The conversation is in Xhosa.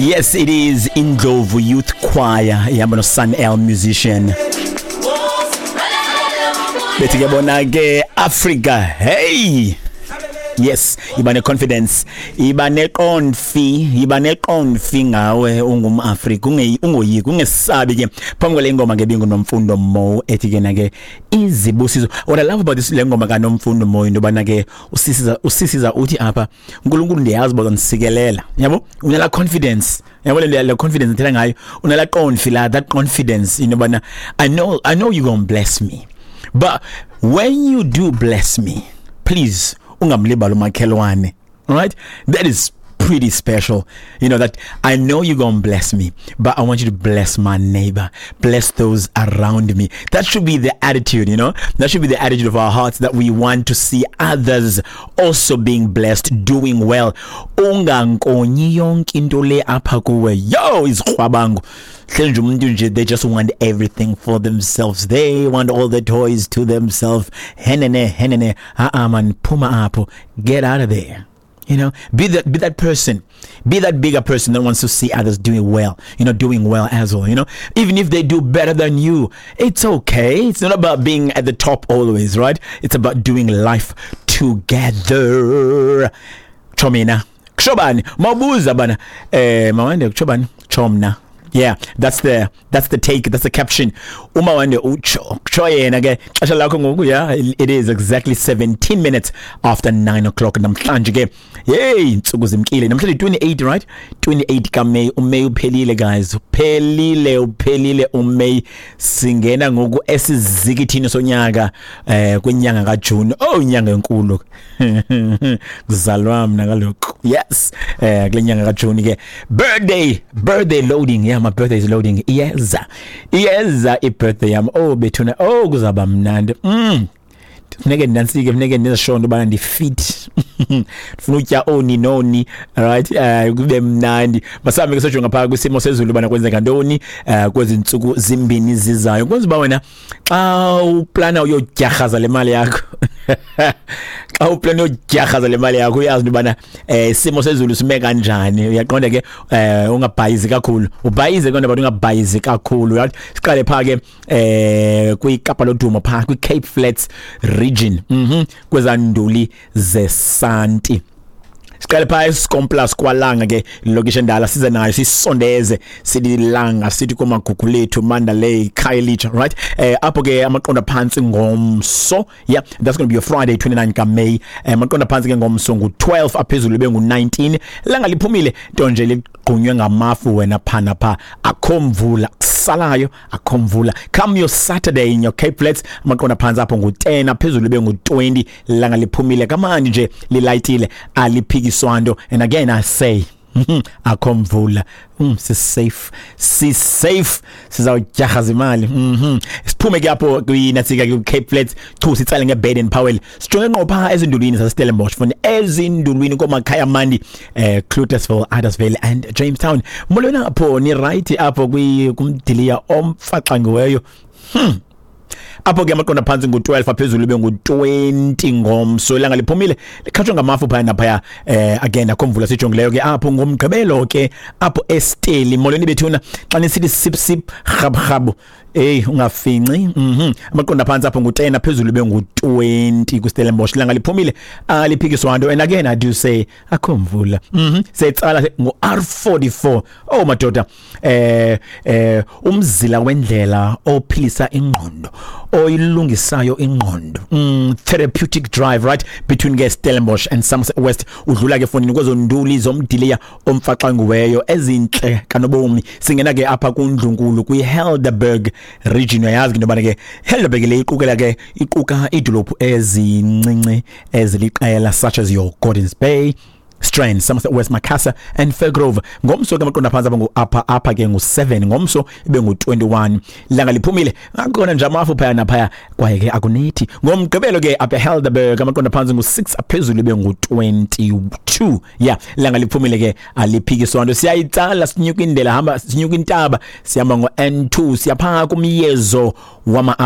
Yes, it is Indlovu Youth Choir ihamba no Sun L musician. Bethi ke bona ke Africa. Hey! Yes, iba ne-confidence, iba neqonfi, iba neqonfi ngawe ungumAfrika, ungoyiki, ungesabi ke. Phambi kwale ngoma ke binguNomfundo Mo ethi ke na ke izibusiso. What I love about this, le ngoma kaNomfundo Mo, into yobana ke usisiza uthi apha, "Unkulunkulu, ndiyazi uba uzandisikelela." Yabo, unala confidence, yabo, le confidence ndithetha ngayo, unala qonfi la, that confidence into yobana I know you gonna bless me, but when you do bless me, please ungamlibali umakhelwane. All right, that is pretty special that I know you're going to bless me, but I want you to bless my neighbor, bless those around me. That should be the attitude. That should be the attitude of our hearts, that we want to see others also being blessed, doing well. Ungankonyi yonke into le apha kuwe. Yo, izikhwabango hleli nje umuntu nje, they just want everything for themselves. They want all the toys to themselves. Henene henene, ah man, phuma apho, get out of there. Be that person, be that bigger person that wants to see others doing well, doing well as well. Even if they do better than you, it's okay. It's not about being at the top always, right? It's about doing life together. Chomina kushobani mawubuza bana, mawande kushobani chomna. Yeah, that's the take, that's the caption. Uma wande utsho kutsho yena ke xesha lakho ngoku. Yeah, it is exactly 17 minutes after 9 o'clock namhlanje ke. Hey, insuku zimkile. Namhlanje 28, right? 28 kaMay. uMay uphelile, guys. Uphelile, uphelile uMay. Singena ngoku esizikithini sonyaka, kwinyanga kaJune. Oh, inyanga enkulu. Kuzalwa mina kalokho. Yes. Kule nyanga kaJune ke. Birthday loading. Yeah, my birthday is loading. Iyeza. Iyeza i-birthday yami. Oh bethuna. Oh, kuzaba mnandi. Funeke ndinansike, funeke ndizisho into yobana ndi-fit, ndifuna utya oni noni, right, kube mnandi. Masihambe ke sojonga phaa kwisimo sezulu ubana kwenzeka ntoni kwezi ntsuku zimbini zizayo, kwenza uba wena xa uplana uyodyarhaza le mali yakho, xa uplana uyodyarhaza le mali yakho, uyazi into yobana isimo sezulu sime kanjani. Uyaqonda ke, ungabhayizi kakhulu, ubhayize kodwa, but ungabhayizi kakhulu, right? Siqale phaa ke kwiKapa lodumo, phaa kwi-Cape Flats region, kwezanduli zesanti. Siqale phaa eSkomplus kwalanga ke, lokishi endala, size nayo sisondeze sililanga, sithi komagugu lethu, Mandalay, Khayelitsha, right? Apho ke amaqondo phantsi ngomso, yeah, that's going to be your Friday, 29 kaMay. Amaqondo phantsi ke ngomso ngu-12, aphezulu bengu-19. Langa liphumile, nto nje ligqunywe ngamafu wena phana pha, akho mvula kusalayo, akho mvula. Come your Saturday in your Cape Flats, amaqondo phantsi apho ngu-10, aphezulu bengu-20. Langa liphumile kamandi nje, lilayitile, aliphikiswa nto. And again I say, akho mvula. Si-safe, si-safe, sizawudyarhaza imali. Siphume ke apho kwinatsika ku-Cape Flats chu, sitsale ngeBaden Powell, sijonge ngqo phaa ezindulwini zaseStellenbosch, funa ezindulwini komakhaya mandi, Cloetesville, Addersville and Jamestown. Molweni apho, ni right apho kumdiliya omfaxangiweyo. Apho ke amaqondo phantsi ngu-12, aphezulu ibe ngu-20 ngomso. Ilanga liphumile, likhatshwa ngamafu phaya naphaya. Again akho mvula sijongileyo ke apho ngomgqibelo ke apho eSteli. Molweni bethuna, xa nisithi sip sip rhab rhabu, hey, ungafinci. Amaqondo phantsi apho ngu-10, aphezulu ibe ngu-20 kuStellenbosch. Ilanga liphumile, aliphikiswa nto, and again I do say akho mvula. Setsala ngu-R44. Oh madoda, umzila wendlela ophilisa ingqondo, oyilungisayo ingqondo, therapeutic drive, right between ke Stellenbosch and Somerset West. Udlula ke fonini kwezo nduli zomdiliya omfaxangiweyo ezintle kanobomi. Singena ke apha kundlunkulu kwi-Helderberg region. Uyayazi ke into yobana ke Helderberg le iqukela ke, iquka iidolophu ezincinci eziliqela, such as your Gordons Bay, Strand, Somerset West, Macassar and Fairgrove. Ngomso ke amaqondo phantsi apha ke ngu-7, ngomso ibe ngu-21. Ilanga liphumile, akukhona nje amafu phaya naphaya, kwaye ke akunethi. Ngomgqibelo ke apha eHelderberg amaqondo phantsi ngu-6, aphezulu ibe ngu-22. Yeah, ilanga liphumile ke, aliphikiswa nto. Siyayitsala, sinyuka indlela, hamba sinyuka intaba, sihamba ngo-N2, siyapha kumyezo wama